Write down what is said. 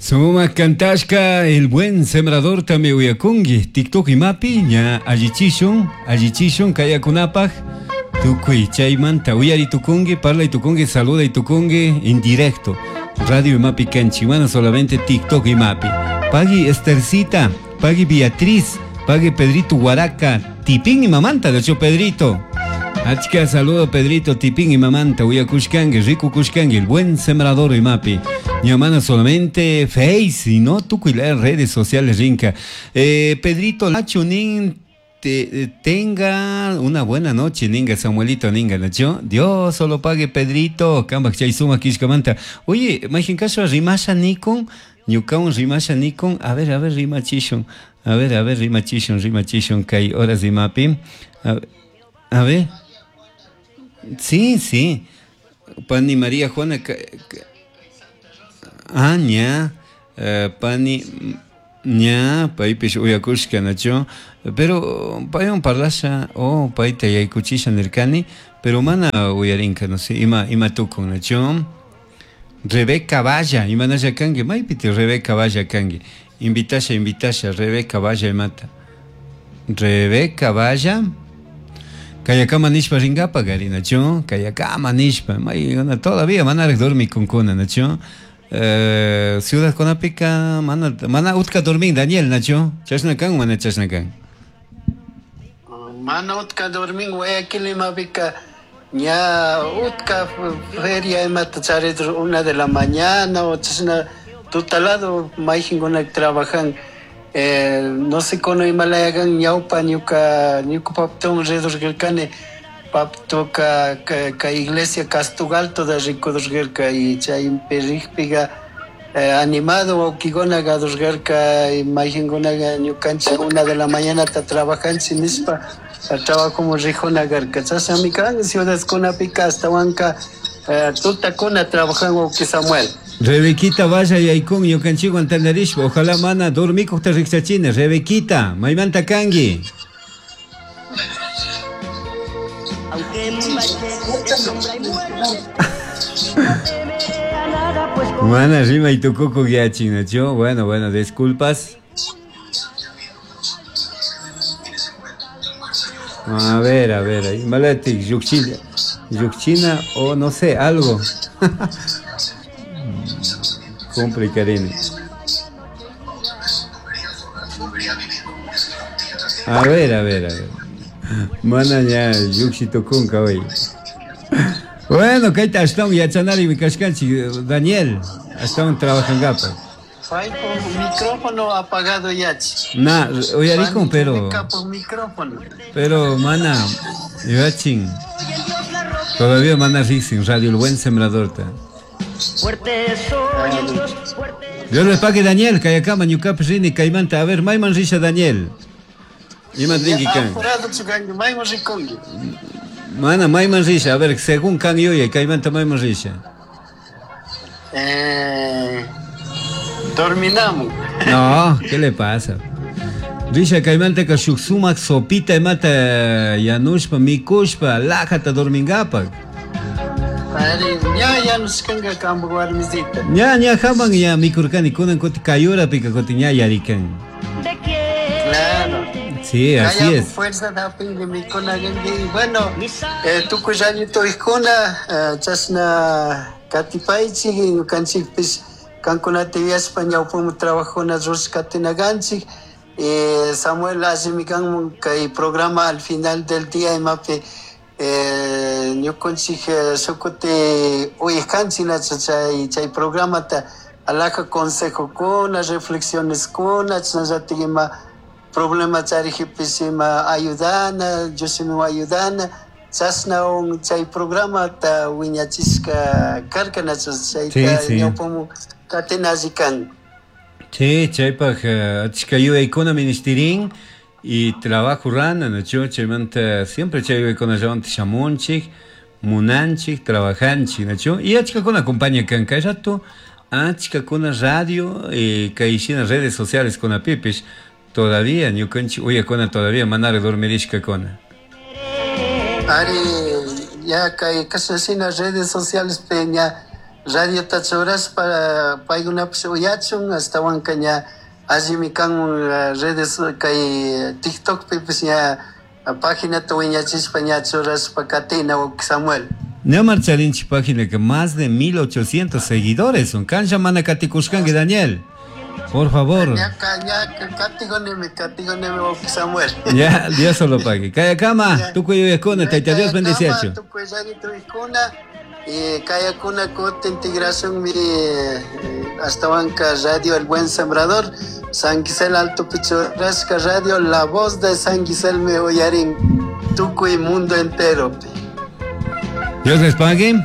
Sumak kantashka el buen sembrador tami uyakungi TikTok imapi ña allichishun allichishun kayakunapaj tukuy chaymanta uyari tukungi parlay tukungi saluday tukungi en directo radio imapi kanchik mana solamente TikTok imapi pagui Estercita pagui Beatriz pagui Pedrito Huaraca Tipín imamanta de hecho Pedrito Achka saludo Pedrito Tipín imamanta uyakushkangi rikukushkangi el buen sembrador imapi ña mana solamente Face sino tukuy las redes sociales rinka Pedrito Lacho nin te, tenga una buena noche ninga Samuelito ninga nacho Dios solo pague Pedrito kambak chay sumak kishkamanta oye mayjin kasha rimasha nikun ñukawan rimasha nikun a ver rimachishun a ver rimachishun rimachishun kay horas imapi a ver sí sí pani María Juana ah ña pani ña paypish uyakushka nacho pero paywan parlasha o payta yaykuchisha nirkani pero mana uyarinka no sé ima ima tukun nacho Rebeca Valla imanasha kanki maypiti Rebeca Valla kanki invitasha invitasha Rebeca Valla imata Rebeca Valla kayakama nishpa rinkapak ari nacho kayakama nishpa may todavía manaraj dormikunkuna nacho ciudad kunapika mana mana utka dormin Daniel nacho chashna kan mana chashna kan mana utka dormin Guayaquil imapika ña utka feria imata charidur 1 de la mañana o chashna tutalado mayjinkuna trabajan no sé kono imalayakan ñawpa ñuka ñuka papituwan ridurkarkani papituka kay iglesia Castugalto da rikudurkarka y chaypi rikpika animado wawkikuna kadurkarka mayjinkunaka ñukanchik 1 de la mañanata trabajanchik nishpa trabajomun rijuna karka chashnami kan ciudadkunapika ashtawanka tutakuna trabajan wawki Samuel. Rebequita vaya yaykun ñukanchikwan tantarishpa ojalá mana dormikukta rikchachini Rebequita maymanta kanki. Mana rimay tukukuq yachin nacho bueno bueno disculpas. A ver imalatik llukchina llukchina o no sé algo. Complicarini. A ver a ver a ver. Mana ña llukshi tukunka hoy. Bueno, kayta ashtawan yachanarimi kashkanchik Daniel, ashtawan trabajankapak. Paypuk micrófono apagado yachi. Na, uyarikun pero micrófono. Pero mana yachin. Todavía mana riksin Radio El Buen Sembrador ta. Dios les pague Daniel, kayakama ñukapish rini kaymanta. A ver, mayman risha Daniel. Iman rinki kan. Apurado chukanki, mayman rikunki. Mana mayman risha, a ver, según kan yuyay, kaymanta mayman risha. Dorminamun. No, ¿qué le pasa? Risha kaymantaka shuk sumak sopita imata yanushpa, mikushpa, lajata dormingapak. Ari, ña yanushkanka kampak warmisita. Ña, ña haman ña mikurkani, kunan kuti kayurapika kuti ña yarikan. Claro. Sí, así Kaya es. Fuerza da pingi mikuna gangi. Bueno, tukuy añitoykuna, chashna katipaychik, ñukanchikpish kankunata yuyashpa ñawpamu trabajuna rurashkatinakanchik. Samuel allimi kanmun kay programa al final del día imapi ñukanchik shukuti uyajkanchik nacha chay chay programata alhaja consejokuna, reflexioneskuna, chashnallatik ima problema charijpish ima ayudana, Diosmi ayudana, chashna chay programata wiñachishka karka nacha chayta ñawpamu katina alli kan. Sí, chaypaj achka yuyaykuna ministirin y trabajo rana, nacho, chaymanta siempre chay yuyaykunallawantaj shamunchik, munanchik, trabajanchik, nacho, y achkakuna acompaña kan kay rato, achkakuna radio kay shina redes sociales kunapipish todavía ñukanchik uyakuna todavía manara dormirishkakuna. Ari, ya kay kashna shina redes sociales pe ña Radiota churashpa paykunapish uyachun ashtawanka ña allimi kan redes kay TikTokpipish ña paginata wiñachishpa ña churashpa katina Samuel. Ña marcharinchik página que más de 1800 seguidores son. Cancha mana katikushkanki Daniel. Por favor. Samuel. Ya, Dios solo pague. Kayakama, tukuy uyakuna, Tayta Dios bendeciachu. Tukuy uyakuna, y kayakuna kutin integración mi ashtawanka Radio El Buen Sembrador, San Gisel Alto Pichurrasca Radio, la voz de San Gisel me uyarin tukuy mundo entero. Dios les pague.